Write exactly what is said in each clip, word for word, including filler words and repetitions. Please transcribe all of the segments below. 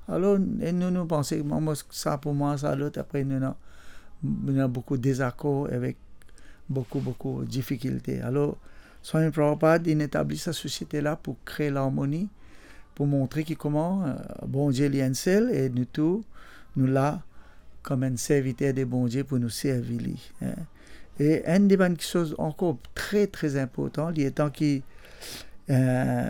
Alor, e nou, nou panse, mo, mo, sa pou mwa, sa lot, apre nou ena, nou ena boukou dezakor avek boukou, boukou difikilte. Alor, Swami Prabhupada, li etabli sa sosiete la pou kre larmoni, pou montre ki kouma, eh, Bondie li enn sel, e nou tou, nou la kouma enn serviter de Bondie pou nou servi li, eh. E enn de bann kiksoz ankor tre, tre inportan, li etan ki, eh,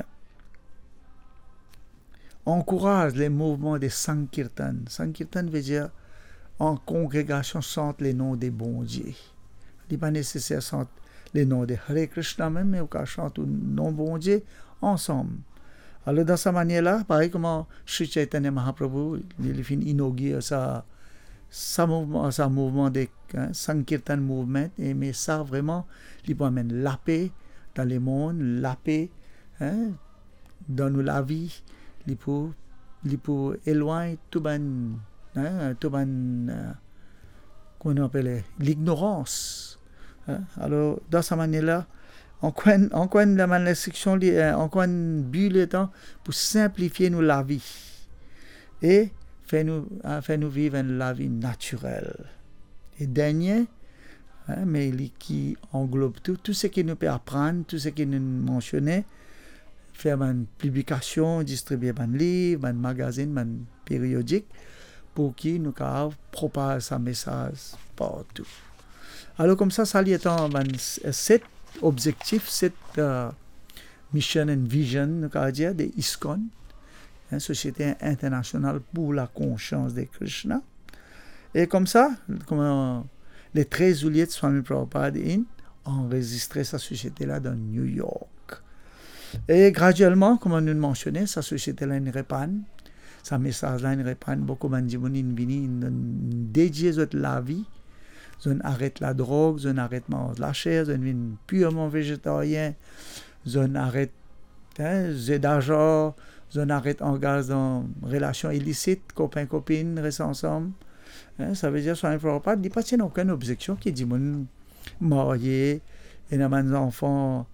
ankouraz le mouvman de Sankirtan. Sankirtan vedir an kongregasion sant le nom de Bondie. Li pa neseser sant le nom de Hare Krishna mem, me ou kav sant ou nom Bondie ansam. Alor, dan sa manier la, parey kouma Sri Chaitanya Mahaprabhu, li, li finn inogir sa, sa mouvman, sa mouvman de, eh, Sankirtan movement, e me sa vreman, li pou amenn lape dan lemond, lape, eh, dan nou lavi, li pou, li pou elwagn tou bann, eh, tou bann, eh, kouma nou apele, lignorans. Eh, alor, dan sa manier la, ankor enn, ankor enn bann lenstriksion, li, eh, ankor enn bi letan pou sinplifie nou lavi e fer nou, eh, fer nou viv enn lavi natirel. E dernie, eh, me li ki anglob tou, tou seki nou pe aprann, tou seki nou mansione, fer bann piblikasion, distribie bann liv, bann magazinn, bann periodik, pou ki nou kapav propaz sa mesaz partou. Alor, koumsa, sa li etan bann s-, set obzektif, set, eh, mission and vision, nou kapav dir, de ISKCON, eh, Sosiete Internasional pou Lakonsians de Krishna. E koumsa, kouma le trez zouliet, Swami Prabhupada inn anrezistre sa sosiete la dan New York. E gradielman, kouma nou mansione, sa sosiete la inn repann, sa mesaz la inn repann, boukou bann dimoun inn vini, inn donn, dedie zot lavi, zot inn aret ladrog, zot inn aret manz laser, zot inn vinn pirman vezetarien, zot inn aret, eh, ze dazar, zot inn aret angaz dan relasion ilisit, kopin kopinn, res ansam. Eh, savedir Swami Prabhupada, li pa ti ena okenn obzeksion ki dimoun marye, ena bann zanfan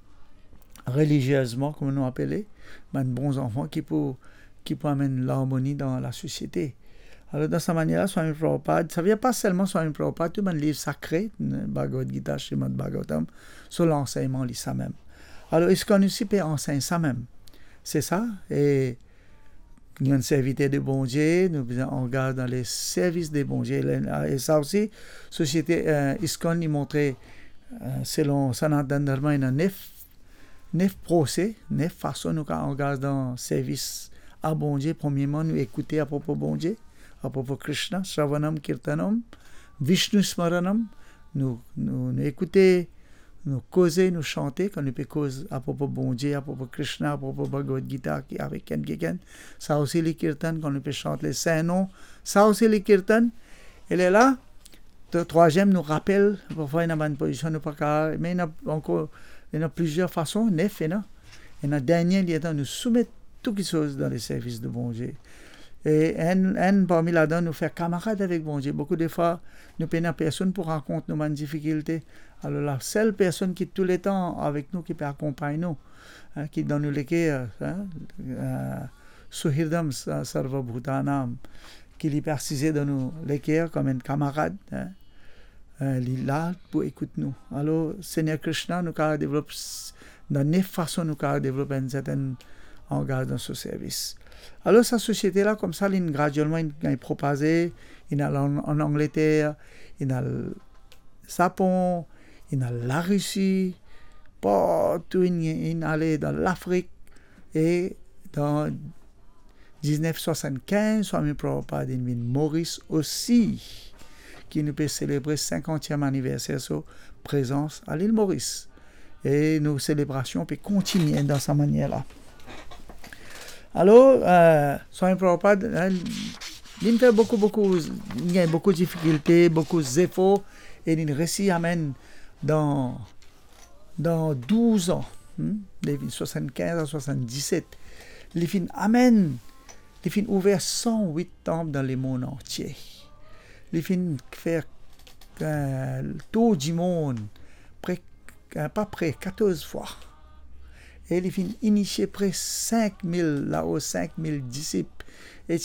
reliziezman, kouma nou apele, bann bon zanfan ki pou, ki pou amenn larmoni dan lasosiete. Alor, dan sa manier la, Swami Prabhupada, savedir pa selman Swami Prabhupada, tou bann liv sakre, Bhagavad Gita, Srimad Bhagavatam, so lansegnman li samem. Alor, ISKCON osi pe ansegn samem. Se sa, e nou enn serviter de Bondie, nou bizin angaz dan le servis de Bondie. E sa osi, sosiete, eh, ISKCON, li montre, eh, selon Sanatan Dharma, ena nef, nef prose, nef fason nou kapav angaz dan servis a Bondie. Premierman, nou ekoute apropo Bondie, apropo Krishna, Shravanam, Kirtanam, Vishnu Smaranam, nou, nou, nou ekoute, nou koze, nou sante, kan nou pe koz apropo Bondie, apropo Krishna, apropo Bhagavad Gita, ki avek enn kikenn, sa osi li kirtan, kan nou pe sant le Sin Non, sa osi li kirtan. E lerla, tro-, trwaziem, nou rapel, parfwa ena bann pozision nou pa kapav, me ena ankor, ena plizier fason, nef ena. Ena dernie, li etan nou soumet tou kiksoz dan le servis de Bondie. E enn, enn parmi ladan, nou fer kamarad avek Bondie. Boukou de fwa, nou pena personn pou rakont nou bann difikilte. Alor, lasel personn ki touletan avek nou, ki pe akonpagn nou, eh, ki dan nou leker, eh, eh, Suhridam sa-, Sarvabhutanam, ki li pe asize dan nou leker kouma enn kamarad, eh, eh, li la pou ekout nou. Alor, Segner Krishna, nou kapav devlop s-, dan nef fason nou kapav devlop enn sertenn angaz dan so servis. Alor, sa sosiete la, koumsa, li gradielman, li gagn propaze, li al an, an Angleter, li al Sapon, li al Larisi, partou li, li ale dan Lafrik, e dan diznef swasannkinz, Swami Prabhupada inn vinn Moris osi, ki nou pe selebre sinkantiem aniverser so prezans a Lil Moris. E nou selebrasion pe kontinie dan sa manier la. Alor, eh, Swami Prabhupada, eh, li, li fer boukou, boukou, li gagn boukou difikilte, boukou zefor, e li resi amenn dan, dan douz an, hmm, de swasannkinz a swasanndisset, li finn amenn, li finn ouver san wit tanp dan lemond antie. Li finn fer, eh, tour dimond pre, eh, pa pre katorz fwa. E li finn inisie pre sink mil, lao sink mil disip. E